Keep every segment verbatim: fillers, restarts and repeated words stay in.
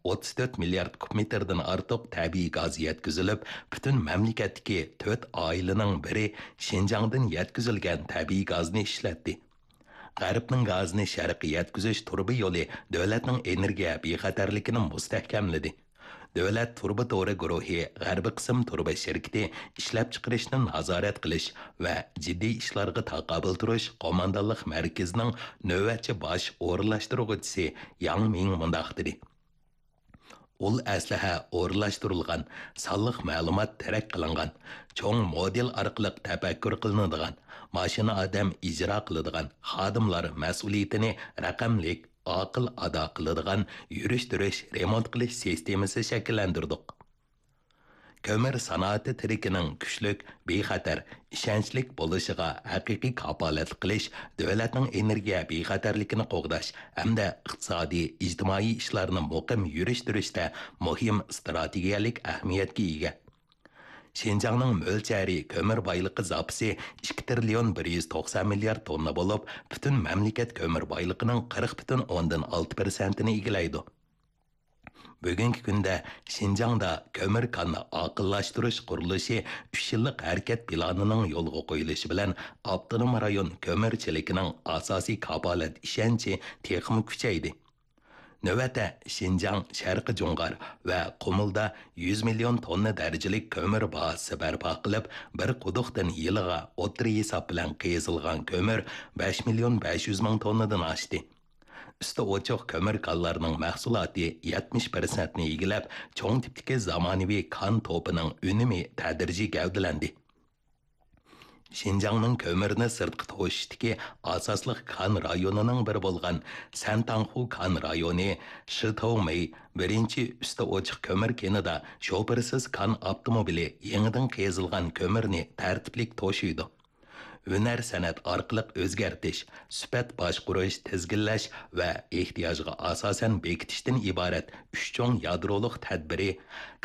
ئوتتۇز تۆت مىليارد كۇب مېتىردىن ئارتۇق تەبىئىي گاز يەتكۈزۈلۈپ، پۈتۈن مەملىكەتتىكى تۆت ئائىلىنىڭ بىرى شىنجاڭدىن يەتكۈزۈلگەن تەبىئىي گازنى ئىشلەتتى. غەربنىڭ گازىنى شەرققە يەتكۈزۈش تۇرۇبا يولى دۆلەتنىڭ ئېنېرگىيە بىخەتەرلىكىنى مۇستەھكەملىدى. دۆلەت تۇرۇبا تورى گۇرۇھى غەربىي قىسىم تۇرۇبا شىركىتى ئىشلەپچىقىرىشنى نازارەت قىلىش ۋە جىددىي ئىشلارغا تاقابىل تۇرۇش قوماندانلىق مەركىزىنىڭ نۆۋەتچى باش ئورۇنلاشتۇرغۇچىسى ياڭ مىڭ مۇنداق دېدى: ئۇل ئەسلىھە ئورۇنلاشتۇرۇلغان، سانلىق مەلۇمات تەرەت قىلىنغان، چوڭ مودېل ئارقىلىق تەپەككۇر قىلىنىدىغان، ماشىنا ئادەم ئىجرا قىلىدىغان، خادىملار مەسئۇلىيىتىنى رەقەملىك، ئاقىل ئادا قىلىدىغان يۈرۈش-تۇرۇش، رېمونت قىلىش سىستېمىسى شەكىللەندۈردۇق. كۆمۈر سانائىتى تىرىكىنىڭ كۈچلۈك، بىخەتەر، ئىشەنچلىك بولۇشىغا ھەقىقىي كاپالەتلىك قىلىش دۆلەتنىڭ ئېنېرگىيە بىخەتەرلىكىنى قوغداش ھەمدە ئىقتىسادىي، ئىجتىمائىي ئىشلارنى مۇقىم يۈرۈشتۈرۈشتە مۇھىم ئىستراتېگىيەلىك ئەھمىيەتكە ئىگە. شىنجاڭنىڭ مۆلچەرى كۆمۈر بايلىقى زاپىسى ئىككى تىرىليون بىر يۈز توقسان مىليارد توننا بولۇپ، پۈتۈن مەملىكەت كۆمۈر بايلىقىنىڭ قىرىق پۈتۈن ئوندىن ئالتە پىرسەنتىنى ئىگىلەيدۇ. بۈگۈنكى كۈندە شىنجاڭدا كۆمۈر كاننى ئاقىللاشتۇرۇش قۇرۇلۇشى ئۈچ يىللىق ھەرىكەت پىلانىنىڭ يولغا قويۇلۇشى بىلەن ئاپتونوم رايون كۆمۈر چېلىكىنىڭ ئاساسىي كاپالەت ئىشەنچى تېخىمۇ كۈچەيدى. نۆۋەتتە، شىنجاڭ، شەرقىي جۇڭغار ۋە قۇمۇلدا يۈز مىليون توننا دەرىجىلىك كۆمۈر بازىسى بەرپا قىلىپ، بىر قۇدۇقتىن يىلىغا ئوتتۇرا ھېساب بىلەن قېزىلغان كۆمۈر بەش مىليون بەش يۈز مىڭ توننىدىن ئاشتى. ئۈستى ئوچۇق كۆمۈر كانلارنىڭ مەھسۇلاتى يەتمىش پىرسەنتنى ئىگىلەپ، چوڭ تىپتىكى زامانىۋى كان توپىنىڭ ئۈنۈمى تەدرىجىي گەۋدىلەندى. شىنجاڭنىڭ كۆمۈرنى سىرتقا توشۇشتىكى ئاساسلىق كان رايونىنىڭ بىرى بولغان سەنتاڭخۇ كان رايونى شىتاۋمېي بىرىنچى ئۈستى ئوچۇق كۆمۈر كېنىدا شوپۇرسىز كان ئاپتوموبىلى يېڭىدىن قېزىلغان كۆمۈرنى تەرتىپلىك توشۇيدۇ. ھۈنەر سەنئەت ئارقىلىق ئۆزگەرتىش، سۈپەت باشقۇرۇش، تىزگىنلەش ۋە ئېھتىياجغا ئاساسەن بېكىتىشتىن ئىبارەت ئۈچ چوڭ يادرولۇق تەدبىرى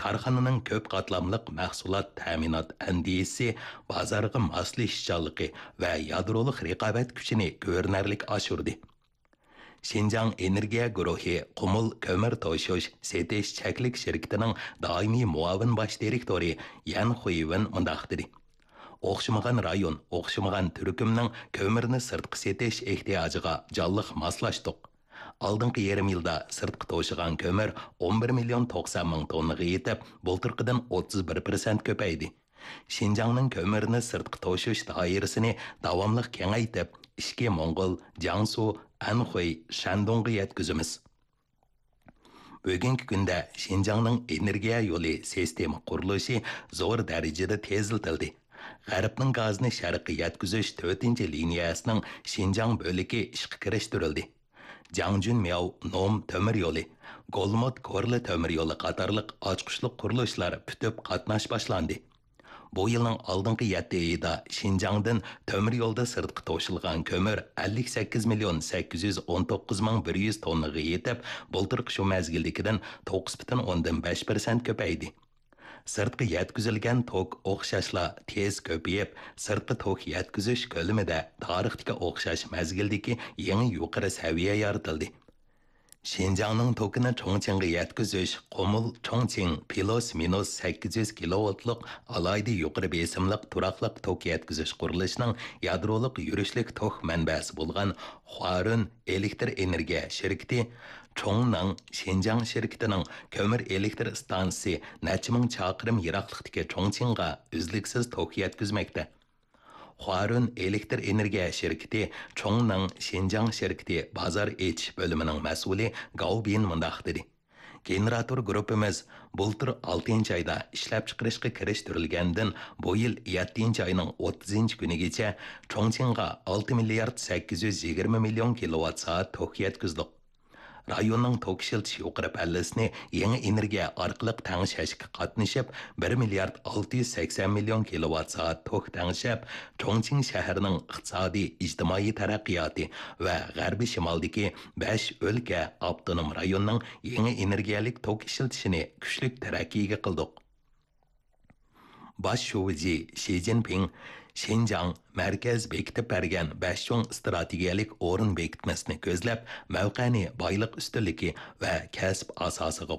كارخانىنىڭ كۆپ قاتلاملىق مەھسۇلات تەمىنات ئەندىزىسى، بازارغا ماسلىشىشچانلىقى ۋە يادرولۇق رىقابەت كۈچىنى كۆرۈنەرلىك ئاشۇردى. شىنجاڭ ئېنېرگىيە گۇرۇھى قۇمۇل كۆمۈر توشۇش سېتىش چەكلىك شىركىتىنىڭ دائىمىي مۇئاۋىن باش دىرېكتورى يەن خۇيۋېن مۇنداق دېدى: ئوخشىمىغان رايون، ئوخشىمىغان تۈركۈمنىڭ كۆمۈرنى سىرتقا سېتىش ئېھتىياجىغا جانلىق ماسلاشتۇق. ئالدىنقى يېرىم يىلدا سىرتقا توشۇغان كۆمۈر ئون بىر مىليون توقسان مىڭ توننىغا يېتىپ، بۇلتۇرقىدىن ئوتتۇز بىر پىرسەنت كۆپەيدى. شىنجاڭنىڭ كۆمۈرنى سىرتقا توشۇش دائىرىسىنى داۋاملىق كېڭەيتىپ، ئىچكى موڭغۇل، جياڭسۇ، ئەنخۇي، شەندۇڭغا يەتكۈزىمىز. بۈگۈنكى كۈندە شىنجاڭنىڭ ئېنېرگىيە يولى سىستېما قۇرۇلۇشى زور دەرىجىدە تېزلىتىلدى. غەربنىڭ گازىنى شەرققە يەتكۈزۈش تۆتىنچى لىنىيەسىنىڭ شىنجاڭ بۆلىكى ئىشقا كىرىشتۈرۈلدى. جاڭجۈنمياۋ نوم تۆمۈر يولى، گولمۇت كورلا تۆمۈر يولى قاتارلىق ئاچقۇچلۇق قۇرۇلۇشلار پۈتۈپ قاتناش باشلاندى. بۇ يىلنىڭ ئالدىنقى يەتتە ئېيىدا شىنجاڭدىن تۆمۈر يولدا سىرتقا توشۇلغان كۆمۈر ئەللىك سەككىز مىليون سەككىز يۈز ئون توققۇز مىڭ بىر يۈز توننىغا يېتىپ، بۇلتۇرقى شۇ مەزگىلدىكىدىن توققۇز پۈتۈن ئوندىن بەش پىرسەنت كۆپەيدى. سىرتقا يەتكۈزۈلگەن توك ئوخشاشلا تېز كۆپىيىپ، سىرتقا توك يەتكۈزۈش كۆلىمىدە تارىختىكى ئوخشاش مەزگىلدىكى يېڭى يۇقىرى سەۋىيە يارىتىلدى. شىنجاڭنىڭ توكىنى چۇڭچىڭغا يەتكۈزۈش قۇمۇل چۇڭچىڭ پلۇس مىنۇس سەككىز يۈز كىلوۋولتلۇق ئالاھىدە يۇقىرى بېسىملىق تۇراقلىق توك يەتكۈزۈش قۇرۇلۇشىنىڭ يادرولۇق يۈرۈشلۈك توك مەنبەسى بولغان خۇارۈن ئېلېكتر ئېنېرگىيە شىركىتى چۇڭنېڭ شىنجاڭ شىركىتىنىڭ كۆمۈر ئېلېكتر ئىستانسىسى نەچچە مىڭ چاقىرىم يىراقلىقتىكى چۇڭچىڭغا ئۈزلۈكسىز توك يەتكۈزمەكتە. خۇارۈن ئېلېكتر ئېنېرگىيە شىركىتى چۇڭنېڭ شىنجاڭ شىركىتى بازار ئېچىش بۆلۈمىنىڭ مەسئۇلى گاۋ بىن مۇنداق دېدى: گېنېراتور گۇرۇپپىمىز بۇلتۇر ئالتىنچى ئايدا ئىشلەپچىقىرىشقا كىرىشتۈرۈلگەندىن، بۇ يىل يەتتىنچى ئاينىڭ ئوتتۇزىنچى كۈنىگىچە چۇڭچىڭغا ئالتە مىليارد سەككىز يۈز يىگىرمە مىليون كىلوۋات سائەت توك يەتكۈزدۇق. رايوننىڭ توك ئىشلىتىش يۇقىرى پەللىسىنى يېڭى ئېنېرگىيە ئارقىلىق تەڭشەشكە قاتنىشىپ، بىر مىليارد ئالتە يۈز سەكسەن مىليون كىلوۋات سائەت توك تەڭشەپ، چۇڭچىڭ شەھىرىنىڭ ئىقتىسادىي، ئىجتىمائىي تەرەققىياتى ۋە غەربىي شىمالدىكى بەش ئۆلكە، ئاپتونوم رايوننىڭ يېڭى ئېنېرگىيەلىك توك ئىشلىتىشىنى كۈچلۈك تەرەققىيگە قىلدۇق. باش شۇجى شى جىنپىڭ شىنجاڭ مەركەز بېكىتىپ بەرگەن بەش چوڭ ئىستراتېگىيەلىك ئورۇن بېكىتمىسىنى كۆزلەپ، مەۋقەنى بايلىق ئۈستۈنلۈكى ۋە كەسىپ ئاساسىغا